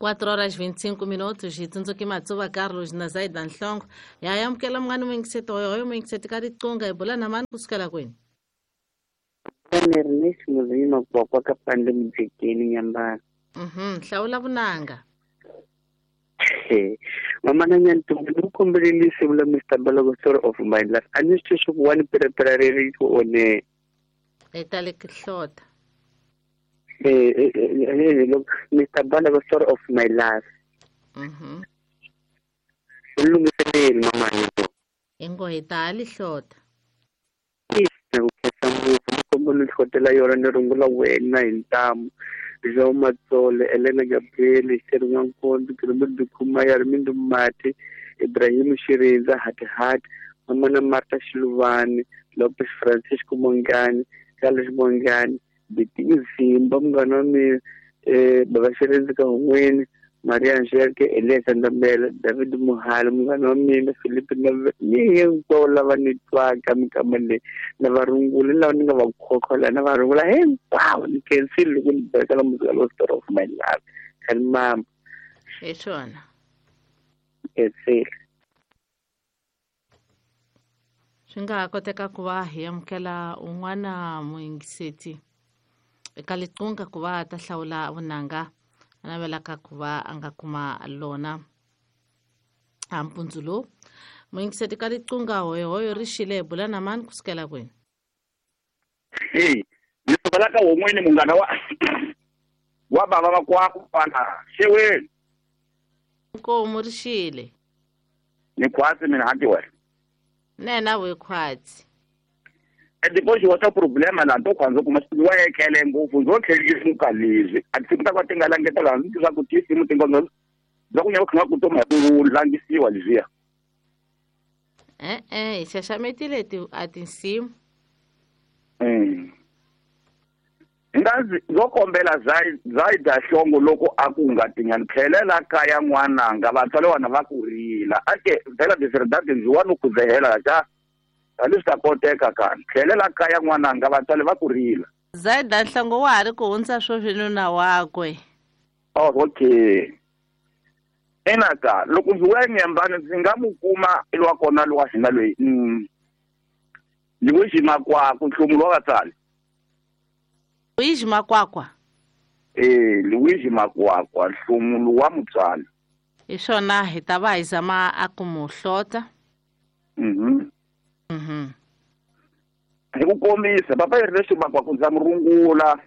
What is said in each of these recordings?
4 horas 25 minutos hi tsundzuki Matsuva Carlos na Zaida Nhlongo. Ya amukela munghana muyingiseti hoyohoyo muyingiseti ka riqingho hi bula na mani kusukela kwini? Ernest Muzima kwa ka pande mjekeni nyambana. Hlawula vunanga. Mama na nyantumbi ni kombeleli sivula Mr. Balogo story of my life. Ani swi ku one preparatory one. Etale kihlota. Look, Mr. Balogo story of my life. Ulungiseleli mama yethu. Ingo hitali hlota. Kombela hlotela yona ni rungula wena hi ntamu. João Matsole, Helena Gabriel, Sherman Nkondo, Kirumudu Kumaya, Armindo Mati, Ibrahim Shirinza, Hati Hati, Mamana Marta Shiluvani, Lopes Francisco Mongani, Carlos Mongani, Bitinho Zimba, munghana wa mina, Baba Shirinza Kahungweni, Maria Angelique, Elias Ndambela, David Muhali, munghana wa mina, Felipe Nave, ni hinkwavo lava ni twaka minkama leyi, na va rungula lava ni nga va khokhola, na va rungula hinkwavo ni khensile loko ni bekela muzika lowu story of my life. Khani mama. Hi swona. Khensile. Swi nga ha koteka ku va hi amukela un'wana muyingiseti eka liqunga ku va ta hlawula vunanga a navelaka ku va a nga kuma lona a mpundzu lowu. Muyingiseti ka liqunga hoyohoyo ri xile hi bula na mani kusukela kwini? Hey, ni sukela ka won'wini munghana wa bava va kwaku kwala xeweni. Nkomu ri xile. Ni khwatsi mina hanti wena. Nena we khwatsi. Depois wa problema la to kwanza kuma wa ekhele ngopfu ndzo tlhelisa mukalezi a ti ta ka tinga langeta la ndzi swa ku tisi mutingo ndzo bya ku nyaka khanga ku toma ku langisiwa leswiya. Hi xaxametile ti a tinsimu. Ngazi ndzo kombela Zaida Hlongo loko a ku nga tinyani tlhelela kaya n'wananga vatswari wana va ku rila ake vhela diserdade ndzi wa no ku zehela xa leswi ta koteka kani tlhelela kaya n'wananga vatswari va ku rila. Zaida Nhlongo wa ha ri ku hundza sweswi nuna wakwe. Oh, okay. Enaka loko ndzi vuya nyambani ndzi nga mu kuma lwa kona lwa hina loyi Luigi Makwakwa nhlumulo wa vatswari. Luigi Makwakwa? Luigi Makwakwa nhlumulo wa mutswari. Hi swona hi ta va hi zama a ku mu hlota. Hi ku kombisa papa Ernest Makwakwa ndza mu rungula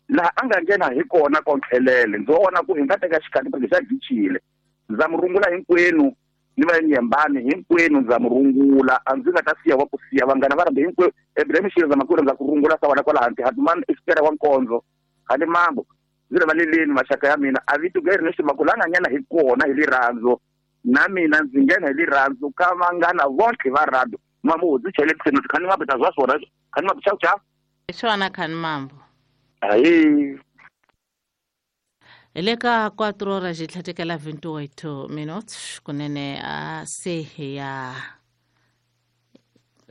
laha a nga nghena hi kona kontlhelele ndzi vona ku hi nga teka xikati phela xa gichile ndza mu rungula hinkwenu ni va nyembani hinkwenu ndza mu rungula a ndzi nga ta siya wa ku siya vanghana va rambe hinkwenu Ibrahim Shirinza makuru ndza ku rungula sa wena kwala hansi Hatman Espera wa Nkondzo hali mambo ndzi rivaleleni maxaka ya mina a vito ga Ernest Makwakwa la nga nghena hi kona hi rirhandzu na mina ndzi nghena hi rirhandzu ka vanghana vonke va rhandzu mambo ndzi chele tseno khani mambo ta zwa swona khani mambo chau chau. Hi swona khani mambo. Ayi. Hi le ka 4 horas hi tlhatekela 28 minutes kunene a se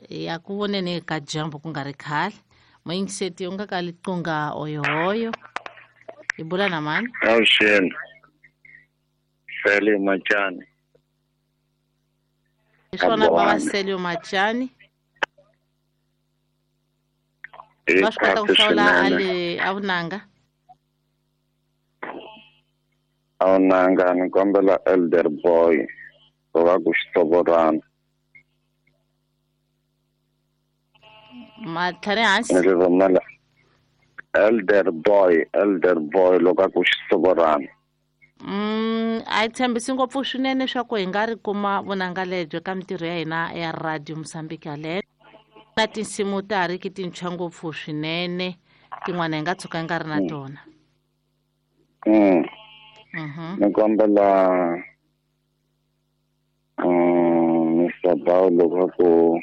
ya ku voneni ka dyambu ku nga ri khale. Muyingiseti u nga ka liqunga oyohoyo hi bula na mani? Avuxeni. Sele Machani. Hi swona bava Selio Machani. Va swi kota ku hlawula a vunanga? A vunanga ni kombela Elder Boy ku va ku xitsovorana. Matlhari hansi? Ni rhumela Elder Boy loko a ku xitsovorana. A yi tshembisi ngopfu swinene swa ku hi nga ri kuma vunanga lebyo ka mintirho ya hina ya Radio Mozambique yaleyo. Na tinsimu ta ha ri ki tintshwa ngopfu swinene tin'wana hi nga tshuka hi nga ri na tona. Ni kombela Mr. Bao loko ku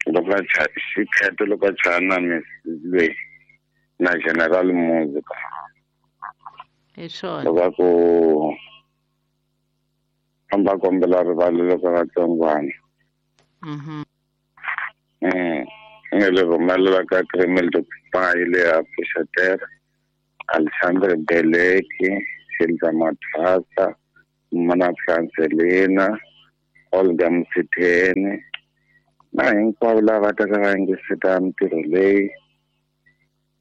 loko a xikheto loko a chaya na Miss loyi na General Music. Hi swona. Loko ku famba kombela rivalelo ka vatsongwana. Ni le rhumelela ka Kremel Dubai le ya Pfuxetera. Alexandre Beleki, Silva Mathasa, Mana Francelina, Olga Msitheni na hinkwavo lava taka va yingiseta mintirho leyi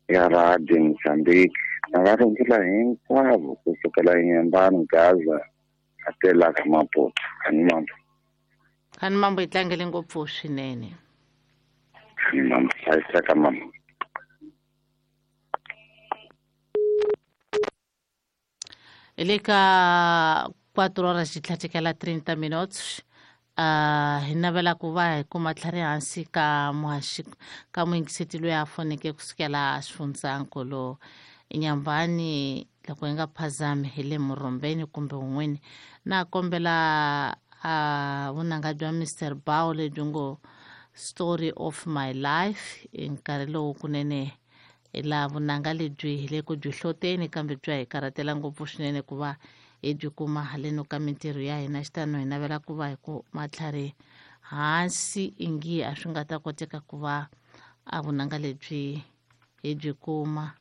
ya Radio Mozambique. Na va rungula hinkwavo kusukela Inhambane, Gaza, atela ka Maputo. Khani mambo. Khani mambo yi tlangele ngopfu swinene. Khani mambo, hlayiseka mama. Hi le ka 4 horas yi tlhatekela 30 minutes. Hi navela ku va hi kuma tlhari hansi ka muhaxi ka muyingiseti loyi a foneke kusukela xifundzankulu Inhambane, loko hi nga phazami hi le Murhombeni kumbe un'wini. Na kombela vunanga bya Mr Bao lebyi ngo Story of My Life hi nkarhi lowu kunene hi laha vunanga lebyi hi le ku byi hloteni kambe bya hi karhatela ngopfu swinene ku va hi byi kuma haleno ka mintirho ya hina. Xitano hi navela ku va hi ku matlhari hansi ingi a swi nga ta koteka ku va a vunanga lebyi hi byi kuma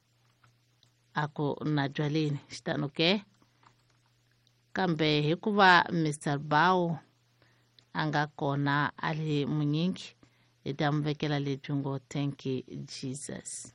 a ku na byaleni. Xitano ke kambe hikuva Mr Bao a nga kona a le munyingi hi ta mu vekela lebyi ngo Thank you Jesus.